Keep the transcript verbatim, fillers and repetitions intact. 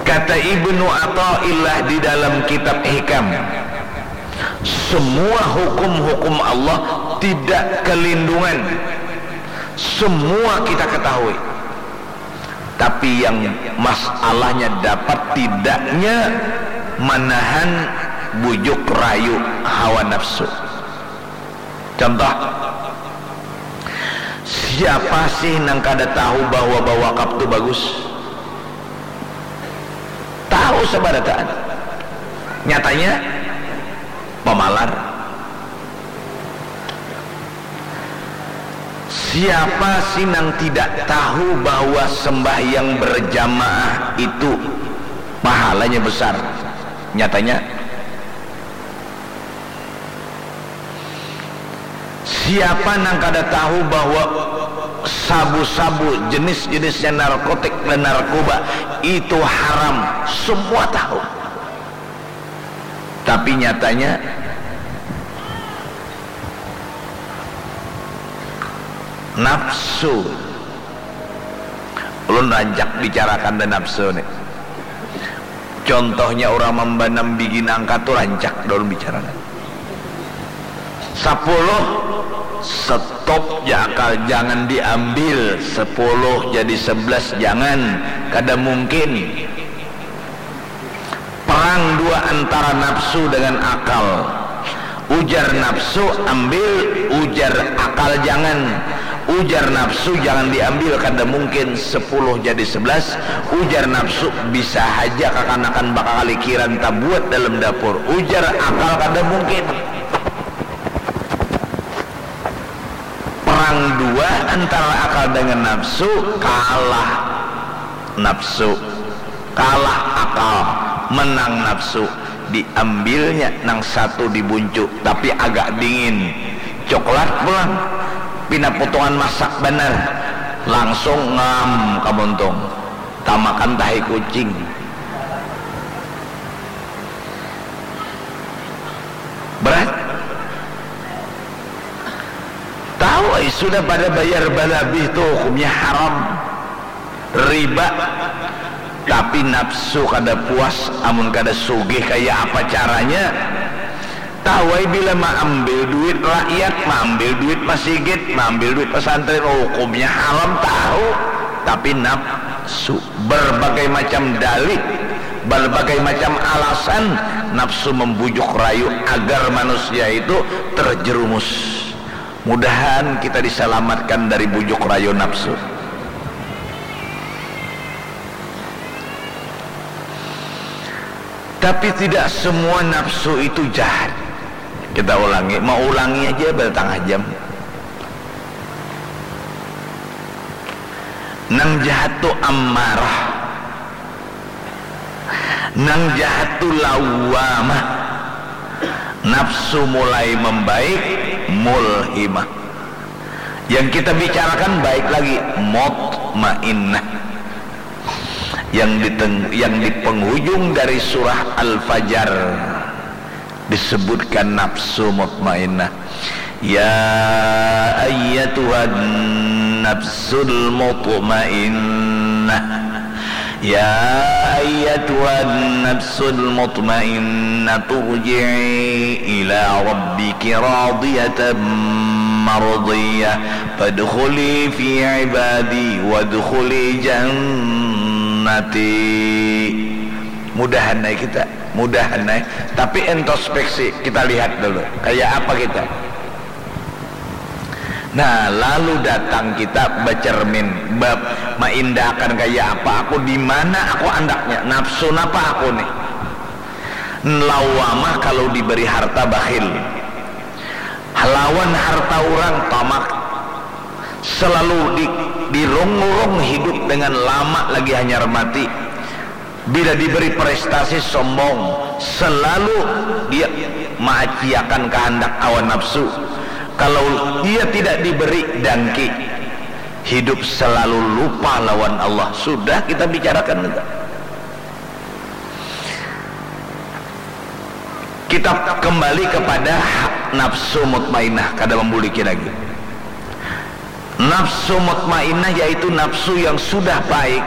Kata Ibnu Athaillah di dalam kitab Hikam, semua hukum-hukum Allah tidak kelindungan, semua kita ketahui. Tapi yang masalahnya dapat tidaknya menahan bujuk rayu hawa nafsu. Contoh, siapa sih nang kada tahu bahwa bawakaf tu bagus? Tahu sabarataan. Nyatanya pamalar. Siapa sih nang tidak tahu bahwa sembahyang berjamaah itu pahalanya besar? Nyatanya, siapa nang kada tahu bahwa sabu-sabu, jenis-jenisnya narkotik dan narkoba itu haram? Semua tahu. Tapi nyatanya nafsu. Ulun rancak bicarakan dan nafsu nih. Contohnya orang mambanam bigi nangka tu rancak daun bicara. Sepuluh, stop ja akal, jangan diambil. Sepuluh jadi sebelas, jangan. Kada mungkin. Perang dua antara nafsu dengan akal. Ujar nafsu, ambil. Ujar akal, jangan. Ujar nafsu, jangan diambil, kada mungkin sepuluh jadi sebelas. Ujar nafsu, bisa haja kakanakan bakakalikiran tabuat dalam dapur. Ujar akal, kada mungkin. Perang dua antara akal dengan nafsu, kalah nafsu, kalah akal, menang nafsu. Diambilnya nang satu dibuncu, tapi agak dingin. Coklat pulang, pina potongan masak banar, langsung ngam ka muntung, tamakan tahi kucing. Berat. Tahu ai sudah pada bayar balabih tu hukumnya haram. Riba. Tapi nafsu kada puas amun kada sugih, kaya apa caranya? Tahu ai bila maambil duit rakyat, maambil duit masigit, maambil duit pesantren, hukumnya haram tahu. Tapi nafsu, berbagai macam dalih, berbagai macam alasan, nafsu membujuk rayu agar manusia itu terjerumus. Mudahan kita disalamatkan dari bujuk rayu nafsu. Tapi tidak semua nafsu itu jahat. Kita ulangi, mau ulangi aja bertengah jam. Nang jahat tu ammarah. Nang jahat tu lawwamah. Nafsu mulai membaik, mulhimah. Yang kita bicarakan baik lagi, mutmainnah. Yang di teng-, yang di penghujung dari surah Al-Fajr disebutkan nafsu mutmainnah. Ya ayyatuhan nafsul mutmainnah. Ya ayyatuhan nafsul mutmainnah, turji'i ila rabbiki radiyatan mardiyah. Fadkhuli fi ibadi wadkhuli jannati. Mudahan ai kita, mudahan ai. Tapi introspeksi, kita lihat dulu, kayak apa kita. Nah, lalu datang kita bacermin, bab maindahakan kaya apa aku, di mana aku andaknya, nafsu napa aku nih. Lawamah kalau diberi harta bakhil. Lawan harta orang tamak. Selalu di, dirungrung hidup dengan lama lagi hanyar mati. Bila diberi prestasi, sombong, selalu dia maaciakan kahandak hawa nafsu. Kalau dia tidak diberi, dangki. Hidup selalu lupa lawan Allah. Sudah kita bicarakan itu. Kita kembali kepada nafsu mutmainnah, kada membuliki lagi. Nafsu mutmainnah yaitu nafsu yang sudah baik,